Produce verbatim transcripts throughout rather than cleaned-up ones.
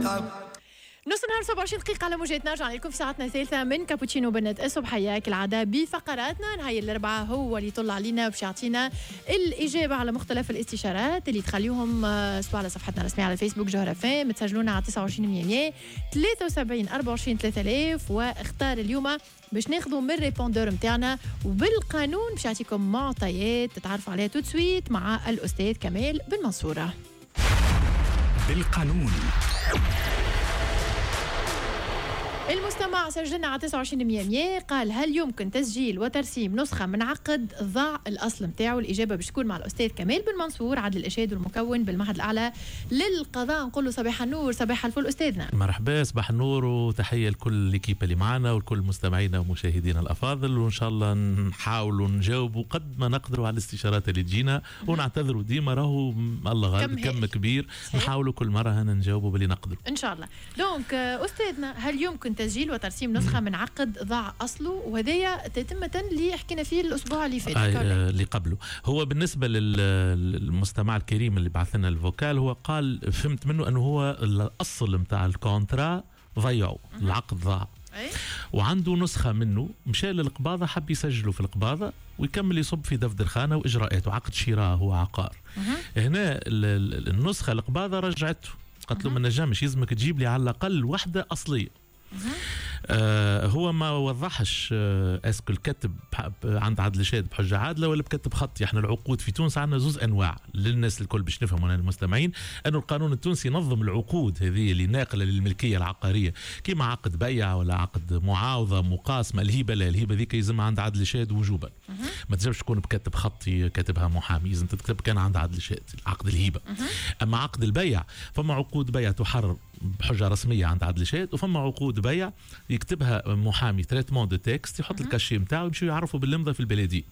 تعب. نص نهار سبعة وعشرين دقيقة على موجاتنا. رجعنا لكم في ساعتنا الثالثة من كابوتشينو بنات الصبحية، كالعادة بفقراتنا. نهار الأربعاء هو اللي يطلع علينا باش يعطينا الإجابة على مختلف الاستشارات اللي تخليهم آه، سواء على صفحتنا الرسمية على الفيسبوك جوهرة فام، تسجلونا على تسعة وعشرين مية ثلاثة وسبعين أربعة وعشرين ثلاثة آلاف. واختار اليوم باش ناخذوا من ال répondeur نتاعنا وبالقانون باش يعطيكم معطيات تتعرفوا عليها tout de suite مع الأستاذ كمال بن منصورة. بالقانون. المستمع سجلنا على تسعة وعشرين مية، قال: هل يمكن تسجيل وترسيم نسخة من عقد ضاع الأصل نتاعو؟ الإجابة باش تكون مع الأستاذ كمال بن منصور، عدل الإشهاد والمكون بالمعهد الأعلى للقضاء. نقول له صباح النور، صباح الفل أستاذنا. مرحبا، صباح النور وتحية لكل l'équipe اللي معنا ولكل مستمعينا ومشاهدينا الأفاضل، وإن شاء الله نحاولوا نجاوبوا قد ما نقدروا على الاستشارات اللي تجينا، ونعتذروا ديما راهو الله غالب كم كم كبير. صحيح. نحاولوا كل مرة هنا نجاوبوا باللي نقدروا. إن شاء الله. donc أستاذنا، هل يمكن تسجيل وترسيم نسخة من عقد ضاع أصله؟ وهذايا تتمة اللي حكينا فيه الأسبوع اللي فات. آه اللي قبله. هو بالنسبة للمستمع الكريم اللي بعث لنا ال vocal، هو قال، فهمت منه أنه هو الأصل نتاع ال contrat ضيعوا، العقد ضاع وعنده نسخة منه، مشى للقباضة حب يسجله في القباضة ويكمل يصب في دفتر خانة وإجراءاته، عقد شراء هو عقار. هنا النسخة القباضة رجعته، قالت له ما نجمش، يلزمك تجيب لي على الأقل وحدة أصلية. آه هو ما وضحش آه est-ce que الكتب عند عدل شاهد بحجة عادلة ولا بكتب خطي. احنا العقود في تونس عندنا زوز انواع، للناس الكل باش نفهموا المستمعين انه القانون التونسي نظم العقود هذه اللي ناقله للملكيه العقاريه، كما عقد بيع ولا عقد معاوضه، مقاسمه. الهبة لا، الهبة ذيك يلزم عند عدل شاهد وجوبا، ما تنجمش تكون بكتب خطي كاتبها محامي، لازم تتكتب كان عند عدل شاهد عقد الهبه. اما عقد البيع، فما عقود بيع تحرر بحجة رسمية عند عدل شاهد، وفما عقود بيع يكتبها محامي traitement de texte، يحط ال cachet نتاعو يمشيو يعرفوا بالامضاء في البلديه.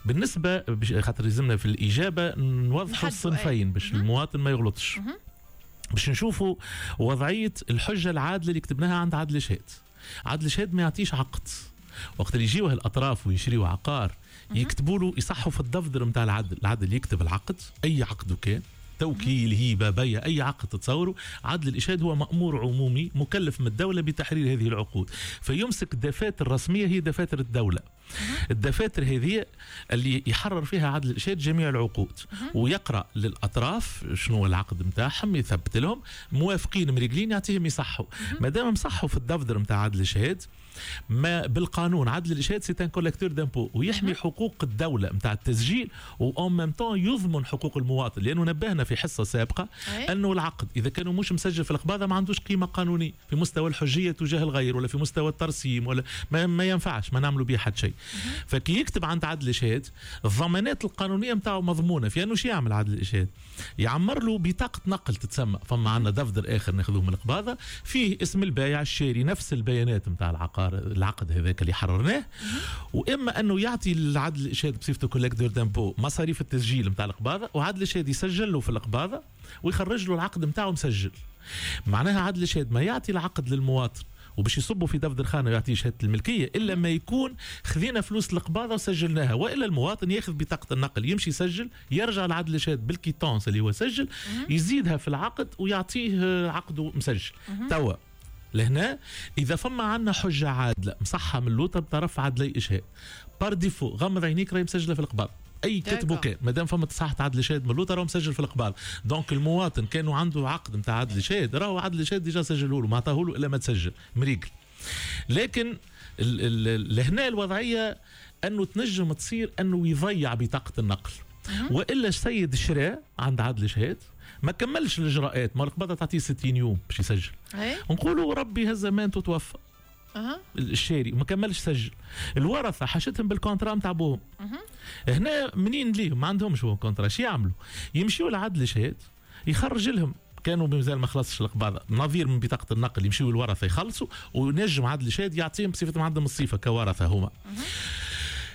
بالنسبة خاطر لازمنا في الاجابة نوضحوا الصنفين باش المواطن ما يغلطش، باش نشوفوا وضعية الحجة العادلة اللي كتبناها عند عدل شهاد. عدل شهاد ما يعطيش عقد. وقت اللي يجيوه الاطراف ويشريوا عقار، يكتبوا له، يصحوا في الدفتر نتاع العدل. العدل يكتب العقد، اي عقد كان، توكيل، هيبه، بيع، اي عقد تتصوره. عدل الاشهاد هو مامور عمومي مكلف من الدولة بتحرير هذه العقود، فيمسك الدفاتر الرسميه، هي دفاتر الدوله. الدفاتر هذه اللي يحرر فيها عدل الاشهاد جميع العقود ويقرا للاطراف شنو العقد نتاعهم، يثبت لهم موافقين مريقلين، يعطيهم يصحوا. ما دام مصحوا في الدفتر نتاع عدل الاشهاد، ما بالقانون عدل الاشهاد c'est un collecteur d'impôts ويحمي حقوق الدولة نتاع التسجيل و en même temps يضمن حقوق المواطن، لانه نبهنا في حصة سابقه انه العقد اذا كانوا مش مسجل في القباضه ما عندوش قيمة قانونية في مستوى الحجية تجاه الغير ولا في مستوى الترسيم ولا ما, ما ينفعش، ما نعملوا به حتى شيء. فكي يكتب عند عدل الاشهاد، الضمانات القانونية نتاعو مضمونه في انه شو يعمل عدل الاشهاد؟ يعمر له بطاقة نقل تتسمى. فما عندنا دفتر اخر ناخذوه من القباضه فيه اسم البايع، الشاري، نفس البيانات نتاع العقار، العقد هذاك اللي حررناه. واما انه يعطي العدل الاشهاد بصفته collecteur d'impôts مصاريف التسجيل نتاع القباضه، وعدل الاشهاد يسجل له في القباضه ويخرج له العقد نتاعو مسجل. معناها عدل الاشهاد ما يعطي العقد للمواطن وباش يصبوا في دفتر خانه ويعطيه شهادة الملكية الا ما يكون خذينا فلوس القباضه وسجلناها، والا المواطن ياخذ بطاقة النقل، يمشي يسجل، يرجع لعدل الشهاد بال quittance اللي هو سجل، يزيدها في العقد ويعطيه عقده مسجل. توا لهنا اذا فما عندنا حجه عادلة مصحه من اللوطه بطرف عدلي اشهاد، par défaut غمض عينيك راهي مسجله في القباض. اي كتبه كان، ما دام فما تصحيح عدل شاهد من اللوطه راهو مسجل في القباض. donc المواطن كانوا عنده عقد نتاع عدل شاهد، راهو عدل شاهد déjà سجله له، ما عطاه له الا ما تسجل مريقل. لكن لهنا الوضعية انه تنجم تصير انه يضيع بطاقة النقل، والا السيد شراء عند عدل شهاد ما كملش الاجراءات، ما القبضة تعطيه ستين يوم باش يسجل. نقولوا ربي هز امانته توفى أه. الشاري ما كملش سجل، الورثة حاشتهم بال contrat نتاع بوهم. أه. هنا منين ليهم؟ ما عندهمش هو contrat. شو يعملوا؟ يمشيوا لعدل شهاد يخرج لهم، كانوا مازال ما خلصش القباضه، نظير من بطاقة النقل، يمشيوا الورثة يخلصوا، ونجم عدل شهاد يعطيهم بصفة عندهم الصفة كورثه هما.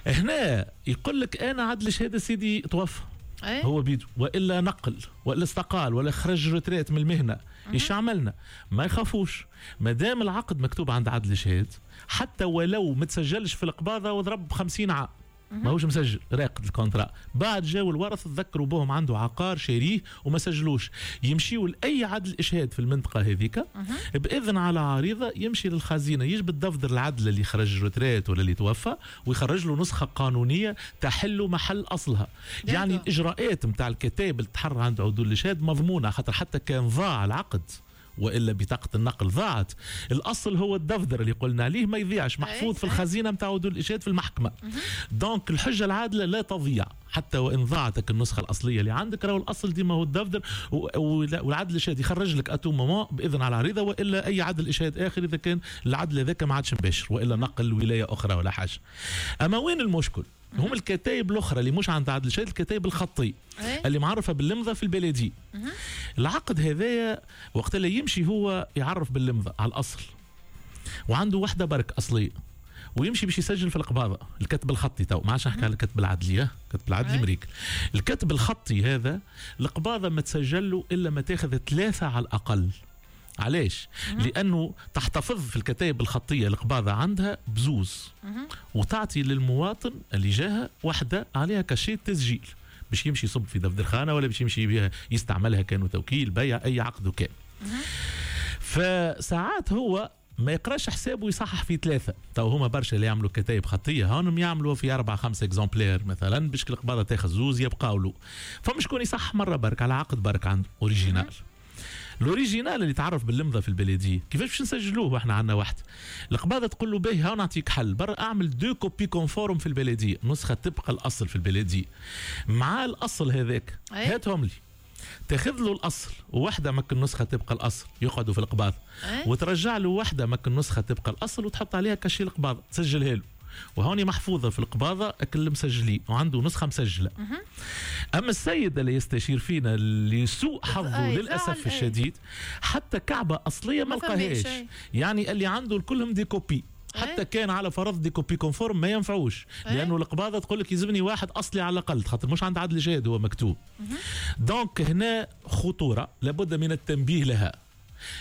هنا يقول لك انا عدل شهادة سيدي توفى أيه؟ هو بيدو والا نقل والا استقال ولا خرج retraite من المهنه، ايش عملنا؟ ما يخافوش، ما دام العقد مكتوب عند عدل شهاد، حتى ولو ما تسجلش في القباضه وضرب خمسين عام. ماهوش مسجل، راقد ال contrat. بعد جاوا الورث تذكروا بهم عنده عقار شاريه وما سجلوش، يمشيوا لاي عدل اشهاد في المنطقة هذيك باذن على عريضة، يمشي للخزينه يجبد دفتر العدل اللي خرج retraite ولا اللي توفى ويخرج له نسخه قانونية تحل محل اصلها. يعني الاجراءات نتاع الكتاب اللي تحرر عند عدول الاشهاد مضمونه، خاطر حتى كان ضاع العقد والا بطاقة النقل ضاعت، الاصل هو الدفتر اللي قلنا عليه ما يضيعش، محفوظ في الخزينة نتاع عدول الاشهاد في المحكمة. donc الحجة العادلة لا تضيع حتى وان ضاعتك النسخة الاصلية اللي عندك، راهو الاصل ديما هو الدفتر، والعدل الاشهاد يخرج لك à tout moment باذن على العريضة، والا اي عدل اشهاد اخر اذا كان العدل هذاك ما عادش مباشر والا نقل ولاية اخرى ولا حاجة. اما وين المشكل؟ هم الكتايب الاخرى اللي مش عند عدل الشهاد، الكتايب الخطي اللي معرفة باللمضه في البلدية. العقد هذايا وقت اللي يمشي هو يعرف باللمضه على الاصل، وعنده وحده برك اصلية، ويمشي باش يسجل في القباضه. الكتب الخطي تو ما عادش نحكي على الكتب العدلي، الكتب العدلي مريك. الكتب الخطي هذا القباضه ما تسجل له الا ما تاخذ ثلاثة على الاقل. علاش؟ لأنه تحتفظ في الكتائب الخطية القباضة عندها بزوز، وتعطي للمواطن اللي جاها واحدة عليها cachet تسجيل باش يمشي يصب في دفتر خانة ولا باش يمشي بها يستعملها كانوا توكيل بيع أي عقد وكان. فساعات هو ما يقراش حسابه ويصحح في ثلاثة. تو هما برشا اللي يعملوا كتايب خطية هانم يعملوا في أربعة خمسة exemplaires مثلا باش القباضة تاخذ زوز يبقاو له. فمش شكون يصح مرة برك على عقد برك عنده original. ال original اللي تعرف باللمضه في البلدية كيفاش باش نسجلوه واحنا عندنا واحد؟ القباضه تقول له باهي ها نعطيك حل، برا اعمل deux copies conformes في البلدية، نسخه تبقى الاصل في البلدية مع الاصل هذاك هاتهم لي. تاخذ له الاصل وواحدة مك النسخة تبقى الاصل يقعدوا في القباضه، وترجع له واحدة مك النسخة تبقى الاصل وتحط عليها cachet القباضه تسجلها له، وهوني محفوظة في القباضه اكل مسجلين وعنده نسخه مسجله. اما السيد اللي يستشير فينا اللي سوء حظه للاسف الشديد حتى كعبه اصلية ما لقاهاش، يعني اللي عنده كلهم des copies، حتى كان على فرض des copies conformes ما ينفعوش، لانه القباضه تقول لك يلزمني واحد اصلي على الاقل خاطر مش عند عدل جاد هو مكتوب. donc هنا خطورة لابد من التنبيه لها،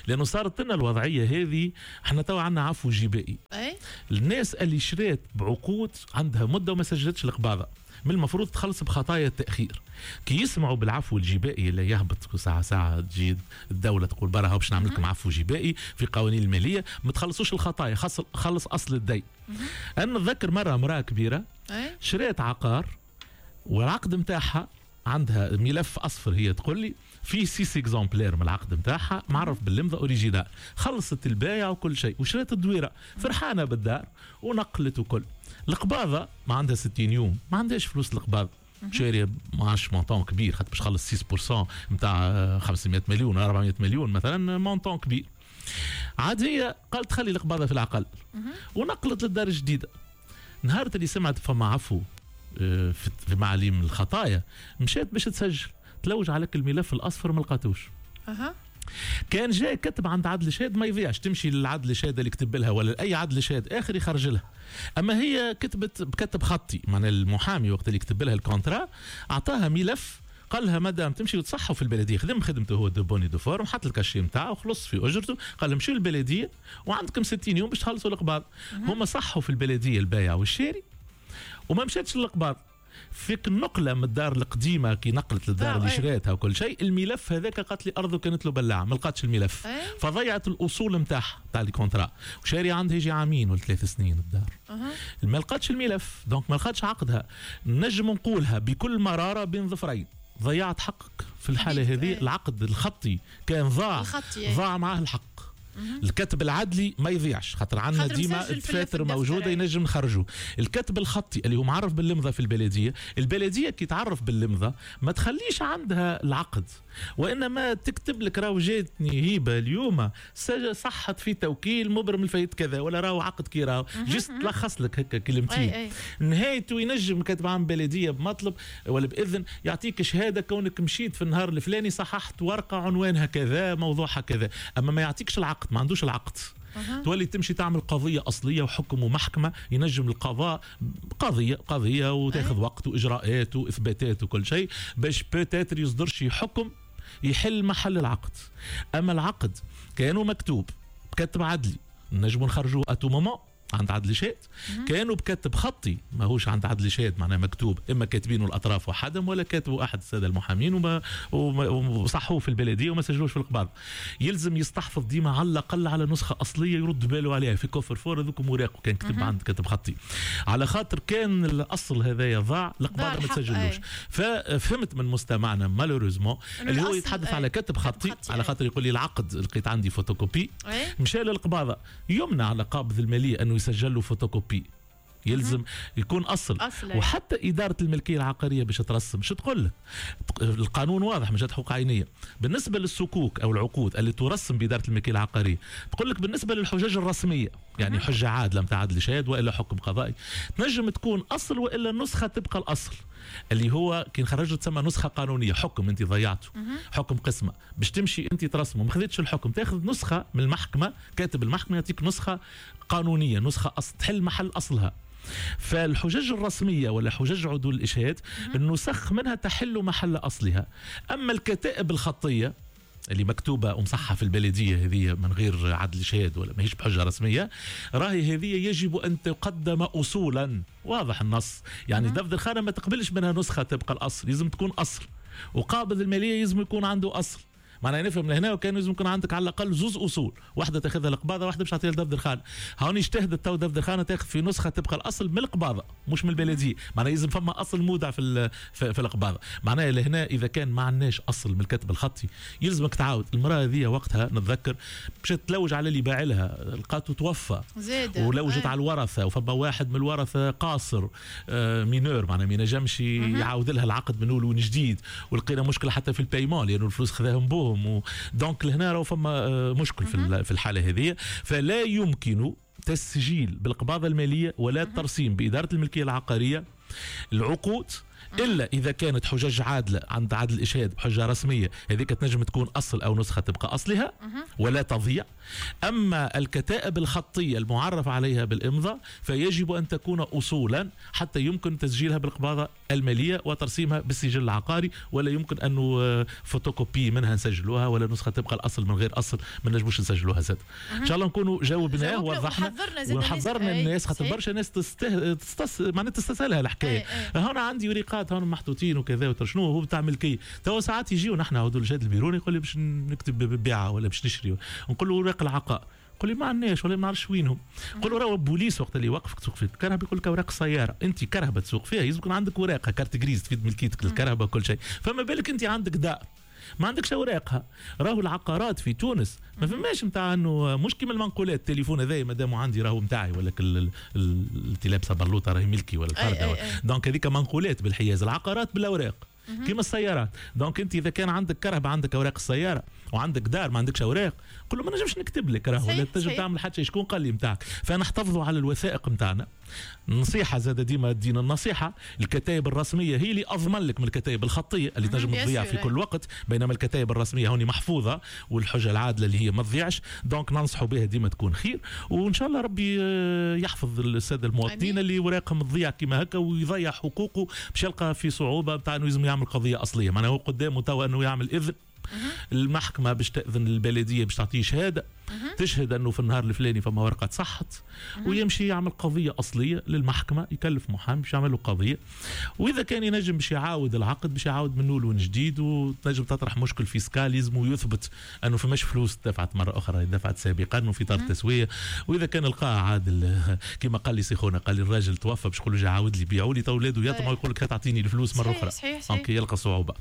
لانه صارت لنا الوضعية هذه. احنا توا عندنا عفو جبائي. أي؟ الناس اللي شرات بعقود عندها مده وما سجلتش القباضه من المفروض تخلص بخطايا التاخير. كي يسمعوا بالعفو الجبائي اللي يهبط ساعة ساعة تجي الدولة تقول برا باش نعمل لكم عفو جبائي في قوانين المالية، ما تخلصوش الخطايا، خلص اصل الدين. انا نتذكر مرة امراة كبيرة شرات عقار والعقد نتاعها عندها ملف اصفر، هي تقول لي في six exemplaires من العقد نتاعها معرف باللمضه original، خلصت البايع وكل شيء وشرات الدويره فرحانة بالدار ونقلت وكل. القباضه ما عندها ستين يوم، ما عندهاش فلوس القباضه، شاريه ما عادش montant كبير خاطر باش تخلص ستة بالمية نتاع خمسمية مليون أربعمية مليون مثلا، montant كبير. عاد هي قالت خلي القباضه في العقل ونقلت للدار الجديدة. نهار اللي سمعت فما عفو في معاليم الخطايا مشات باش تسجل، تلوج عليك الملف الاصفر ما لقاتوش. أه. كان جاي كتب عند عدل شهاد ما يضيعش، تمشي للعدل شهاد اللي كتب لها ولا اي عدل شهاد اخر يخرج لها. اما هي كتبت بكتب خطي، معناها المحامي وقت اللي كتب لها ال contrat اعطاها ملف قال لها مدام تمشي وتصحوا في البلدية، خدم خدمته هو de bonne et due forme، حط ال cachet نتاعو وخلص في اجرته، قال لهم مشيوا للبلديه وعندكم ستين يوم باش تخلصوا القباض. هما صحوا في البلدية البايع والشاري وما مشاتش للقباض. فيك النقلة من الدار القديمة كي نقلت للدار اللي شراتها وكل شيء، الملف هذاك قالت لي ارضه كانت له بلاعه ما لقاتش الملف، فضيعت الاصول نتاعها تاع ال contrat، وشاري عندها يجي عامين ولا ثلاث سنين الدار. أه. ما لقاتش الملف، donc ما لقاتش عقدها. نجم نقولها بكل مرارة بين ظفرين، ضيعت حقك في الحالة هذه. العقد الخطي كان ضاع، ضاع معاه الحق. الكتب العدلي ما يضيعش خاطر عندنا ديما الدفاتر موجودة ينجم نخرجوه. الكتب الخطي اللي هو معرف باللمضه في البلدية، البلدية كي تعرف باللمضه ما تخليش عندها العقد، وانما تكتب لك راهو جاتني هبه اليوم صحت في توكيل مبرم الفايت كذا، ولا راهو عقد كي راهو juste تلخص لك هكا كلمتين. نهايته ينجم كاتب عام بلديه بمطلب ولا باذن يعطيك شهادة كونك مشيت في النهار الفلاني صححت ورقة عنوانها كذا موضوعها كذا، اما ما يعطيكش العقد، ما عندوش العقد. أه. تولي تمشي تعمل قضية أصلية وحكم ومحكمة، ينجم القضاء قضية قضية وتاخذ أه. وقت وإجراءات وإثباتات وكل شيء باش peut-être يصدر شي حكم يحل محل العقد. أما العقد كانوا مكتوب بكتب عدلي نجموا نخرجوه à tout moment عند عدل شهاد، كانوا بكتب خطي ماهوش عند عدل شهاد، معناها مكتوب اما كاتبينه الاطراف وحدهم ولا كاتبه احد السادة المحامين وما وصحوه في البلدية وما سجلوش في القباض. يلزم يستحفظ ديما على الاقل على نسخه اصلية يرد باله عليها في coffre-fort، هذوك اوراقه كان كتب عند كتب خطي، على خاطر كان الاصل هذايا ضاع القباض ما تسجلوش. ففهمت من مستمعنا malheureusement اللي هو يتحدث أي. على كتب خطي, خطي على خاطر يقول لي العقد لقيت عندي فوتوكوبي، مشى للقباضه، يمنع على قابض المالية انه يسجل له فوتوكوبي، يلزم يكون اصل, أصل. وحتى ادارة الملكية العقارية باش ترسم شو تقول لك؟ القانون واضح مش حقوق عينيه. بالنسبة للصكوك او العقود اللي ترسم بادارة الملكية العقارية تقول لك بالنسبة للحجج الرسمية، يعني حجه عادلة نتاع عدل شهاد والا حكم قضائي، تنجم تكون اصل والا النسخة تبقى الاصل، اللي هو كي نخرجه تسمى نسخه قانونية. حكم انت ضيعته، حكم قسمه باش تمشي انت ترسمه، ما خذيتش الحكم، تاخذ نسخه من المحكمة، كاتب المحكمة يعطيك نسخه قانونية، نسخه أصل تحل محل اصلها. فالحجج الرسمية ولا حجج عدول الإشهاد النسخ منها تحل محل أصلها. أما الكتائب الخطية اللي مكتوبة ومصحة في البلدية هذه من غير عدل شهاد ولا ماهيش بحجة رسمية، راهي هذه يجب أن تقدم أصولا. واضح النص، يعني دفتر الخانة ما تقبلش منها نسخة تبقى الأصل، لازم تكون أصل، وقابض المالية لازم يكون عنده أصل. معناها نفهم لهنا وكان لازم يكون عندك على الاقل زوز اصول، واحدة تاخذها القباضه واحدة باش تعطيها لدفتر الخانة. هوني اجتهدت تو دفتر الخانة تاخذ في نسخه تبقى الاصل من القباضه مش من البلدية، معناها لازم فما اصل مودع في في القباضه. معناها لهنا اذا كان ما عندناش اصل من الكتب الخطي يلزمك تعاود. المراة هذه وقتها نتذكر مشات تلوج على اللي باع لها، لقاته توفى ولوجت على الورثة، وفما واحد من الورثة قاصر آه mineur، معناها ما ينجمش يعاود لها العقد من اول وجديد، ولقينا مشكلة حتى في ال paiement لانه الفلوس خذاهم بوهم. donc لهنا راهو فما مشكل في الحالة هذه. فلا يمكن تسجيل بالقباضه المالية ولا الترسيم بادارة الملكية العقارية العقود الا اذا كانت حجج عادلة عند عدل الاشهاد بحجة رسمية، هذيك تنجم تكون اصل او نسخه تبقى اصلها ولا تضيع. اما الكتائب الخطية المعرف عليها بالامضاء فيجب ان تكون اصولا حتى يمكن تسجيلها بالقباضه المالية وترسيمها بالسجل العقاري، ولا يمكن انه فوتوكوبي منها نسجلوها ولا نسخه تبقى الاصل من غير اصل ما نجموش نسجلوها زاد. ان شاء الله نكونوا جاوبناه ووضحنا وحذرنا الناس، خاطر برشا ناس تسته... تستس... معناتها تستسهلها الحكاية. هنا عندي وريقات هون محطوطين وكذا وتر شنو هو بتاع ملكية. تو ساعات يجيو نحن عدول الجهاد البيروني يقول لي باش نكتب بيعه ولا باش نشري، نقول له اوراق العقاء، يقول لي ما عندناش ولا ما نعرفش وينهم. نقول له راهو البوليس وقت اللي يوقفك تسوق في الكرهبه يقول لك اوراق السيارة، انت كرهبه تسوق فيها لازم يكون عندك اوراقها، carte grise تفيد ملكيتك للكرهبه وكل شيء، فما بالك انت عندك دار ما عندكش اوراقها. راهو العقارات في تونس ما فماش نتاع انه مش كيما المنقولات، التليفون هذايا مادام عندي راهو نتاعي، ولا اللي لابسه بلوطه راهي ملكي ولا الفرده، donc هذيك منقولات بالحياز. العقارات بالاوراق كيما السيارات. donc انت اذا كان عندك كرهبه عندك اوراق السيارة وعندك دار ما عندكش اوراق، قول له ما نجمش نكتب لك راهو، ولا تنجم تعمل حتى شيء، شكون قال لي نتاعك. فنحتفظوا على الوثائق نتاعنا. نصيحة زاد ديما دينا النصيحة، الكتائب الرسمية هي اللي اضمن لك من الكتائب الخطية اللي تنجم تضيع في كل وقت، بينما الكتائب الرسمية هوني محفوظة والحجة العادلة اللي هي ما تضيعش، donc ننصحوا بها ديما تكون خير. وان شاء الله ربي يحفظ السادة المواطنين اللي وراقهم تضيع كيما هكا ويضيع حقوقه باش يلقى في صعوبة نتاع انه لازم يعمل قضية اصلية. معناها هو قدامه توا انه يعمل اذن المحكمة باش تأذن البلدية باش تعطيه شهادة تشهد أنه في النهار الفلاني فما ورقة صحت، ويمشي يعمل قضية أصلية للمحكمة، يكلف محامي باش يعمل له قضية، وإذا كان ينجم باش يعاود العقد باش يعاود منه لون جديد، وتنجم تطرح مشكل fiscal لازم يثبت أنه فماش فلوس دفعت مرة أخرى دفعت سابقا وفي طار تسوية. وإذا كان لقاها عادل كما قال لي سيخونا، قال لي الراجل توفى باش يقول له عاود لي بيعوا لي تو اولاده يطمعوا يقول لك تعطيني الفلوس مرة أخرى، donc يلقى صعوبة.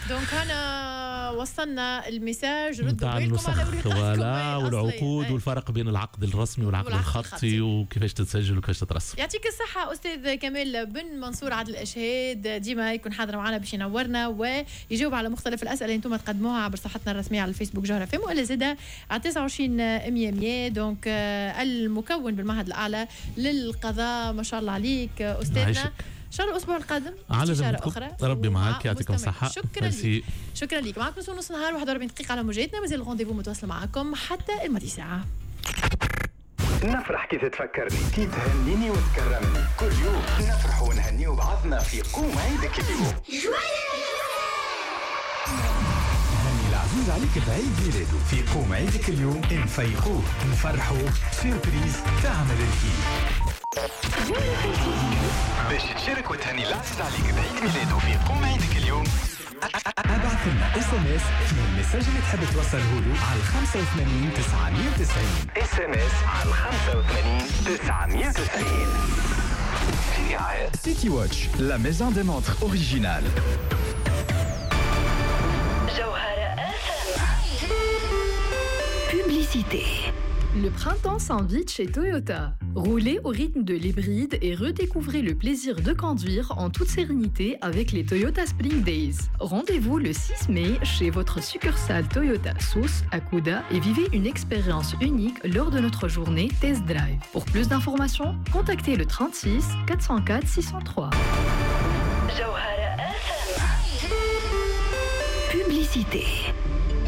donc أنا وصلنا ال message، ردوا بالكم على ورقاتكم والعقود والفرق بين العقد الرسمي والعقد الخطي وكيفاش تتسجل وكيفاش تترسم. يعطيك الصحة أستاذ كمال بن منصور عدل الإشهاد، ديما يكون حاضر معنا باش ينورنا ويجاوب على مختلف الأسئلة اللي انتم تقدموها عبر صفحتنا الرسمية على الفيسبوك جوهرة فم، ولا زادة على تسعة وعشرين مية مية. donc المكون بالمعهد الأعلى للقضاء، ما شاء الله عليك أستاذنا. ان شاء الله الاسبوع القادم استشاره اخرى، ربي معاك، يعطيكم الصحة. شكرا لك، شكرا لك. معكم نص نهار واحد وأربعين دقيقة على موجاتنا، مازال ال rendez-vous متواصل معكم حتى الماضي ساعة. نفرح كي تتفكرني، كي تهنيني وتكرمني، كل يوم نفرح ونهنيو بعضنا في قوم عيدك اليوم. هني العزيز العزيز عليك بعيد ميلاده في قوم عيدك اليوم، نفيقوه نفرحوه surprise تعمل الكيف. باش تشارك وتهني العزيز عليك بعيد ميلاده في قوم عيدك اليوم، ابعث لنا SMS في ال message اللي تحب توصله له على خمسة وثمانين تسعمية وتسعين. SMS على خمسة وثمانين تسعمية وتسعين. City Watch, la maison des montres originales. Publicité. Le printemps s'invite chez Toyota. Roulez au rythme de l'hybride et redécouvrez le plaisir de conduire en toute sérénité avec les Toyota Spring Days. Rendez-vous le six mai chez votre succursale Toyota Sousse à Kouda et vivez une expérience unique lors de notre journée Test Drive. Pour plus d'informations, contactez le trente-six quatre cent quatre six cent trois. Publicité.